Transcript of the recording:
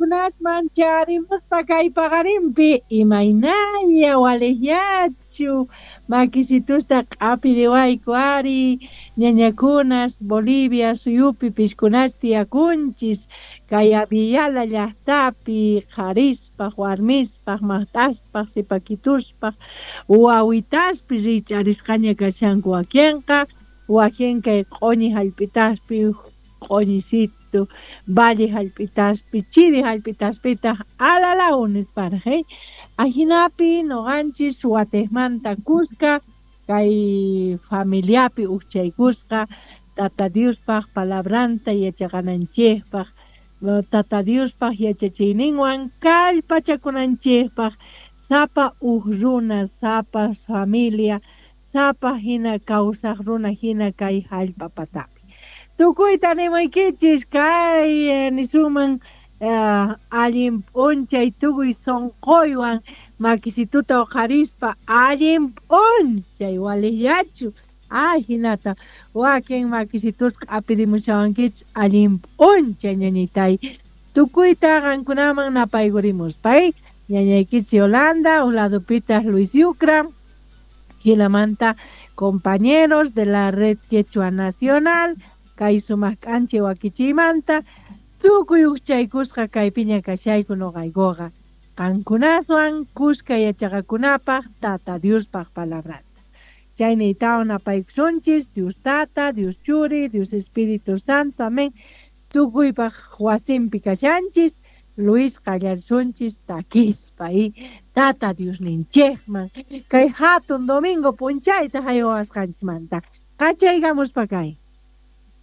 Kunasman charimuspa kay paqarinpi imaynalla waliqllachu makisitusta q'apiriwayku ari ñañakunas Bolivia suyupi piskunas tiyakunchis kay Abiyala llaqtapi qharispaq warmispaq maqt'aspaq sipakituspaq wawitaspis rich'arisqaña kashanku wakinqa wakin kay q'uñi hallp'itaspi q'uñisitu valle hallp'itaspi chiri hallp'itaspitaq alalaw nisparaq ajinapi nuqanchis watiqmanta kuska kay familiapi ukchaykusqa Tata Diospaq palabranta yachaqananchikpaq Tata Diospaq yachachiyninwan kallpachakunanchikpaq sapa uj runa sapa familia sapa hina kawsaq runa hina kay hallp'a patapi. Tukuyta nimuykichis kay nisuman allin p'unchay tukuy sunquywan makisituta uqharispa allin p'unchay waliqllachu hinata wakin makisitusqa q'apirimushawankichis allin p'unchay ñañitay tukuyta qankunaman napaykurimuspa ñañaykichis Yolanda un ladupitaq Luis Yucra hinamanta compañeros de la Red Quechua Nacional kay sumaq k'anchay wakichiymanta tukuy ukchaykusqa kaypiña kashayku nuqaykuqa qankunaswan kuska yachaqakunapaq Tata Diospaq palabranta. Chayniytawan napaykusunchis Dios Tata, Dios Churi, Dios Espíritu Santo, amén. Tukuypaq wasinpi kashanchis Luis qallarisunchis takispa Tata Diosninchikman kay hatun domingo p'unchayta haywasqanchikmanta qachaykamuspa kay.